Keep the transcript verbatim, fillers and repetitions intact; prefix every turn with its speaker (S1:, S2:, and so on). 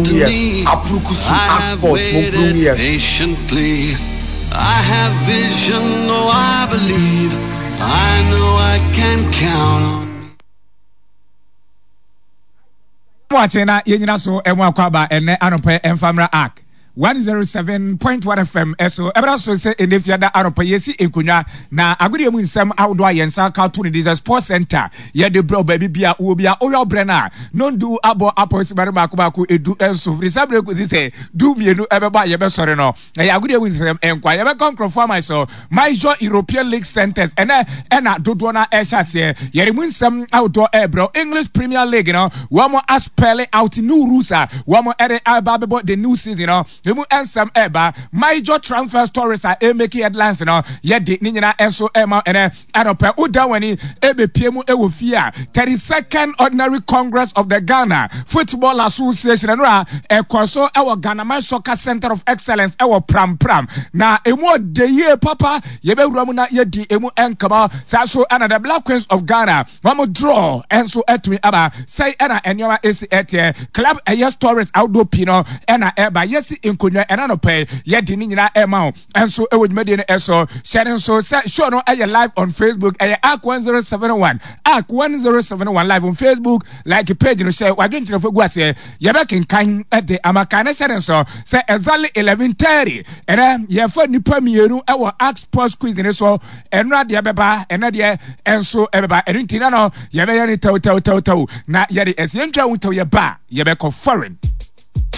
S1: Years Apurukusu
S2: I
S1: Ark
S2: have
S1: Sports mo
S2: waited
S1: Broom Years.
S2: patiently. I have vision, oh, I believe. I know I can count on.
S3: Wakye na yɛnyina so ɛmu akɔ aba ɛnɛ anɔpɛ ɛmfamra Ark one oh seven point one F M ɛso ɛbɛra so sɛ ɛnɛ fiada anɔpɛ yɛsi nkonnwa na agodeɛ mu nsɛm ahodoɔ a yɛn nsa ka to no de sɛ Sports Center yɛde brɛ baabi bia wɔ bia wohwɛ wobrɛ no a nondu abɔ apɔsimare baako baako edu nso firi saa berɛ kɔsi sɛ du mmienu ɛbɛbɔ a yɛbɛsɔre no. Ɛyɛ agodeɛ mu nsɛm nkwa yɛbɛkɔ nkurɔfoɔ ama so Major European League centers ɛnɛ ɛna dodoɔ no ɛhyɛ aseɛ yɛde mu nsɛm ahodoɔ ɛrebrɛ. English Premier League no, wɔn aspell out new rules a wɔn ɛde aba abɛbɔ the new season no emu nsɛm ɛreba. Major transfer stories a ɛmake headlines no, yɛde ne nyinaa nso ɛma ɛnɛ anɔpɛ. Woda w'ani ɛbɛpie mu ɛwɔ fie a thirty-second Ordinary Congress of the Ghana Football Association ɛno a ɛkɔ so ɛwɔ Ghana Soccer Center of Excellence ɛwɔ Prampram na emu ɔde yie papa. Yɛbɛwura mu na yɛdi emu nkama saa so. Ɛna the Black Queens of Ghana wɔn draw ɛnso ɛtumi aba sɛi ɛna nneɛma esi ɛteɛ. Club ɛyɛ stories ahodoɔ pii no ɛna ɛba. Yɛsi nkonnwa ɛna no pɛ yɛde ne nyinaa ɛma wo ɛnso ɛwɔ dwumadie no ɛso. Hyɛ ne nso sɛ show no ɛyɛ live on Facebook, ɛyɛ Ark one oh seven one, Ark one oh seven one live on Facebook. Like page no, hyɛ wadwenkyerɛfo gu aseɛ, yɛbɛkenkan ɛde ama kan ne. Hyɛ ne nso sɛ exactly eleven thirty ɛnɛ yɛfa nipa mmienu ɛwɔ Ark Sports Quiz ne so. Ɛnura deɛ bɛba, ɛnɛ deɛ ɛnso ɛbɛba. Ɛno nti na no yɛbɛyɛ ne tɛw tɛw tɛw tɛw na yɛde ɛsɛ yɛntwa ho tɛw yɛba yɛbɛkɔ foreign.